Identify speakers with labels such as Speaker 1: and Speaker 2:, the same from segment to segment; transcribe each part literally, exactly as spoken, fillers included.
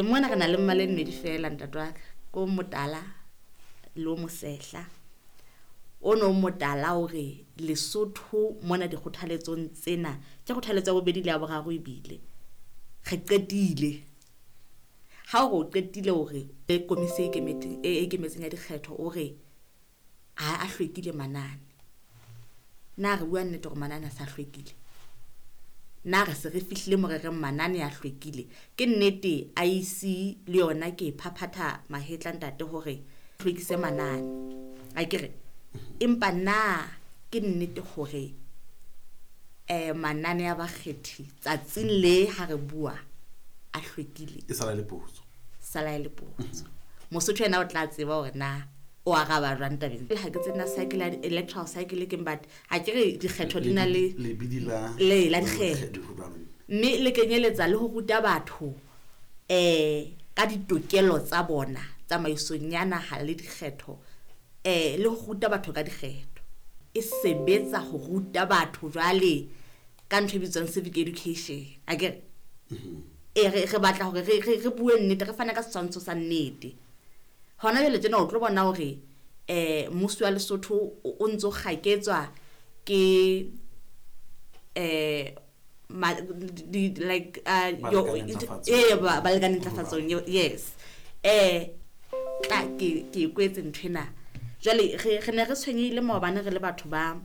Speaker 1: Mona re na le mmala e mmedi fela ntate wa ka, ko motala le o mosehla. O no motala hore Lesotho mona dikgothaletsong tsena ke kgothaletso ya bobedi le ya boraro ebile re qetile. Ha o re o qetile hore e komisi e ikemetseng e ikemetseng ya dikgetho o re ha a hlwekile manane. Na re bua nnete hore manane a sa hlwekile? Na re se re fihlile mo re reng manane a hlwekile? Ke nnete I E C le yona ke e phaphatha mahetla ntate hore hlwekise manane. Akere empa na ke nnete hore eh manane a bakgethi tsatsing le ha re bua a hlwekile?
Speaker 2: E sala le potso.
Speaker 1: Sala le potso. Mosotho yena o tla tseba hore na o araba jwang tabeng. Ha ke tsena cycle ya electoral cycle ke but ha ke re dikgetho di na le
Speaker 2: lebidi la
Speaker 1: le la dikgetho. Mme le kenyeletsa le ho ruta batho eh ka ditokelo tsa bona tsamaisong ya naha le dikgetho, eh le ho ruta batho ka dikgetho. E sebetsa ho ruta batho jwale ka ntho e bitswang civic education. Akere e re re batla hore re re bue nnete, re fane ka setshwantsho sa nnete. Hona jwale tjena o tlo bona hore eh mmuso wa Lesotho o ntso kgaketswa ke eh ma di like uh eh ba balekane ntlafatsong, yes. Eh tla ke ke kwetse nthwena. Jwale re re ne re tshwenyehile maobane re le batho ba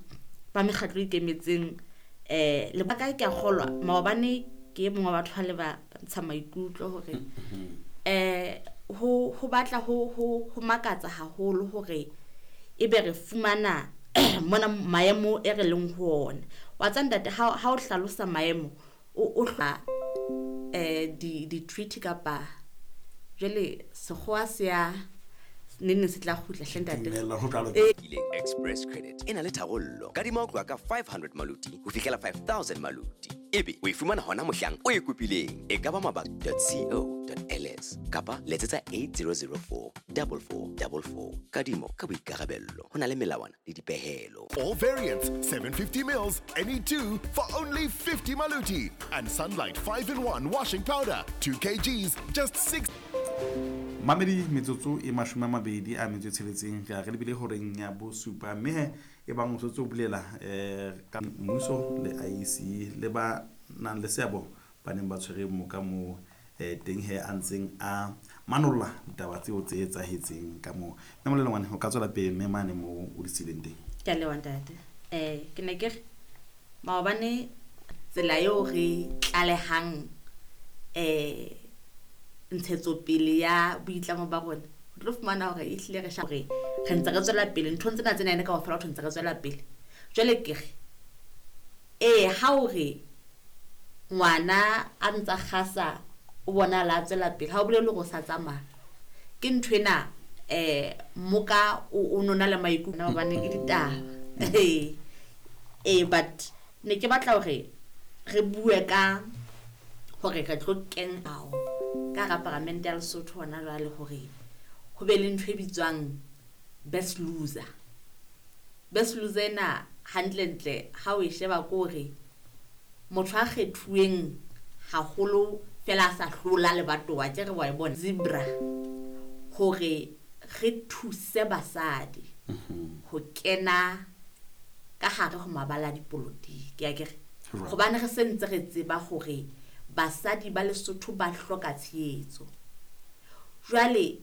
Speaker 1: ba mekgatlo e ikemetseng eh le ba kae ke a kgolwa maobane ke mongwe wa batho ba le ba ntsha maikutlo hore eh ho ho batla ho ho ho makatsa haholo hore ebe re fumana mona maemo e re leng ho ona. Wa tsa ntate ha ha o hlalosa maemo o o hla eh di di treaty kapa jwale sekgowa se ya ne ne se tla kgutla hle ntate.
Speaker 3: Express Credit e na le tharollo. Kadima ho tloha ka five hundred maluti ho fihlela five thousand maluti. Ebe o e fumana hona mohlang o e kopileng. E ka ba mabaka dot co dot ls kapa letsetsa eight zero zero four double four double four. Kadimo ka boikarabello. Ho na le melawana le dipehelo.
Speaker 4: All variants, seven fifty mils, any two for only fifty maluti. And Sunlight five in one washing powder, two kgs, just six.
Speaker 2: Mamedi metsotso e mashome a mabedi a metso e tsheletseng re a re lebile horeng ya bosupa mme e bang o setse o bolela eh ka mmuso le I E C le ba nang le seabo ba neng ba tshwere moka mo eh teng he a ntseng a manolla ditaba tseo tse etsahetseng ka moo. Mme Molelo ngwane o ka tswela pele mme mane mo o di sileng teng.
Speaker 1: Ke a leboha ntate. Eh ke ne ke re maobane tsela eo re tlalehang eh ntshetsopele ya boitlamo ba rona o tlo fumana hore e hlile re sha hore re ntse re tswela pele nthong tsena tsena ene kaofela ho ntse re tswela pele. Jwale ke re eh ha o re ngwana a ntsa kgasa o bona la tswela pele ha o bolele hore o sa tsamaya ke nthwena eh moka o nona le maikutlo hobane ke ditaba. Eh but ne ke batla hore re bue ka hore re tlo kena ka hara paramente ya Lesotho hona jwale hore ho be le ntho e bitswang best loser. Best loser ena hantlentle ha o e sheba ke hore motho a kgethuweng haholo fela a sa hlola lebatowa ke re wa e bona zebra hore re thuse basadi ho kena ka hare ho mabala a dipolotiki akere hobane re sentse re tseba hore basadi ba Lesotho ba hloka tshehetso. Jwale